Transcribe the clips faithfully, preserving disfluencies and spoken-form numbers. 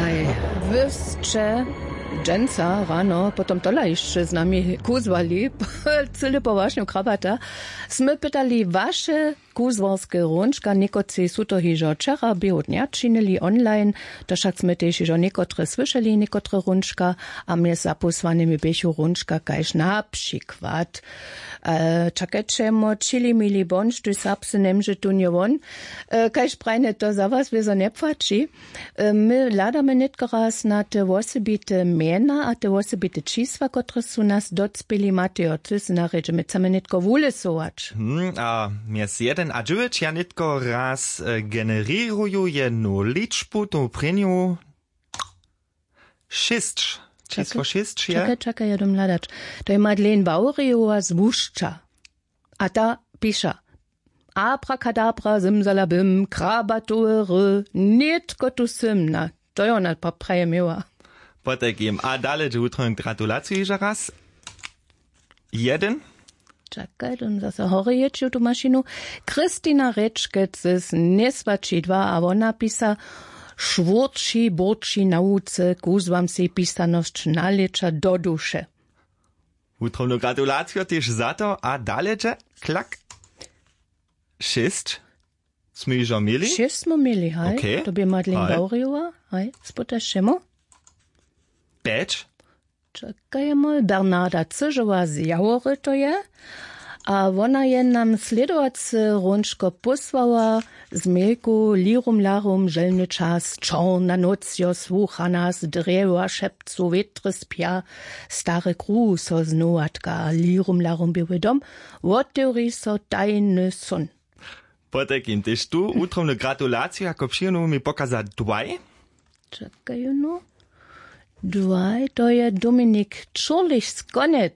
Wy sće dźensa rano potom tola hišće z nami kuzłali cyle powašnju krabata. Smy pytali waše kuzłarske hrónčka, někotři su to hižo wčera běhu dnja činili online. To wšak smy tež hižo někotre słyšeli, někotre hrónčka. A mjez zapósłanymi běchu hrónčka kaž na přikład, e, čakajće mo, čili mili bądź, tuž serbsce njemóže tón je won. E, kaž prajne to za was wězo njepłaći. E, my hladamy nětko raz na te wosebite mjena a te wosebite čisła, kotrež su nas docpěli. Matejo, ty sy na rědźe, my chcemy nětko wulesować. Hmm, a mjez jedyn a dźewjeć ja nětko raz e, generěruju jednu ličbu, tu prěnju šěsć. Čisło šěsć je. Čakaj, čakaj, ja dom hladać. To je Madeleine Wawrijowa z Łušća. A ta piša: Abrakadabra, zymzalabym, krabatowe ry, nětko tu sym. Na, to je ona pa praje měła. Potajkim. A dale dźe wutrobnu gratulaciju hižo raz. Jedyn. Čakaj, dom zase horje jěć tu mašinu. Kristina Rečkec z Njeswaći dwa a wona pisa: Šwórći, bórći na łuce, kuzłam sej pisanosć nalěća do duše. Wutrobnu gratulaciju tež za to a dale dźe klak. Šěsć smy hižo měli. Šěsć smy měli, haj. Okay. To bě Madeleine Wawrijowa, haj, spytaš šemu. Pjeć. Čakajemo, Bernarda Cyžowa z Jawory to je. A wona je nam slědowace hrónčko pósłała z mejku: Lirum larum, želny čas, čorna nóc jo słucha nas, drjewa šepcu, wětry spja, stary kruh so znowatka, lirum larum, běły dom, wotewri so tajny són. Potajkim tež tu wutrobnu gratulaciju jako přijenu mi pokaza dwaj. Čakaj, no. Dwaj, to je Dominik Čurlich z Konec.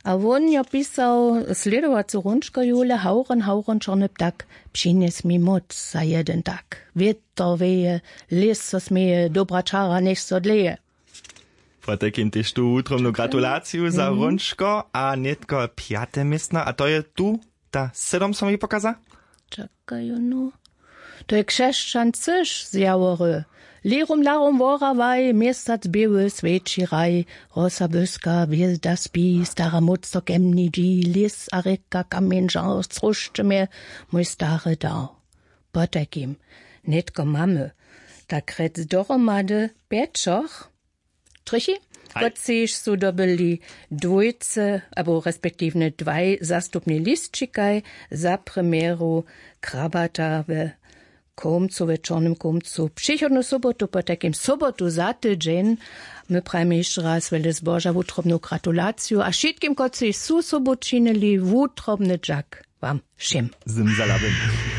A wón jo pisał slědowacu hrónčko: Jule, hawron, hawron, čorny ptak, přinjes mi móc za jedyn tak. Wětr wěje, lěs so směje, dobra čara njech so dleje. Potajkim tež tu wutrobnu gratulaciju za hrónčko a nětko pjate městno, a to je tu ta sydom so mi pokaza. Čakaj, no. To je Křesćan Cyž z Jawory. Lirum larum worawaj, měsac běły swjeći raj, rosa błyska, hwězda spi, stara móc so ke mni dźi, lěs a rěka, kamjeń žar, sróšće mje, mój stary dar. Potajkim, nětko mamy tak rjec dohromady pjećoch. Trychi, kotřiž su dobyli dwójce abo respektiwnje dwaj zastupni lisćikaj za premjeru Krabata we Kómcu, we Čornym Kómcu, přichodnu sobotu, potajkim sobotu za tydźeń. My prajimy hišće raz wjele zboža, wutrobnu gratulaciju a wšitkim, kotřiž su sobu činili, wutrobny dźak wam wšěm. Zymzalabym.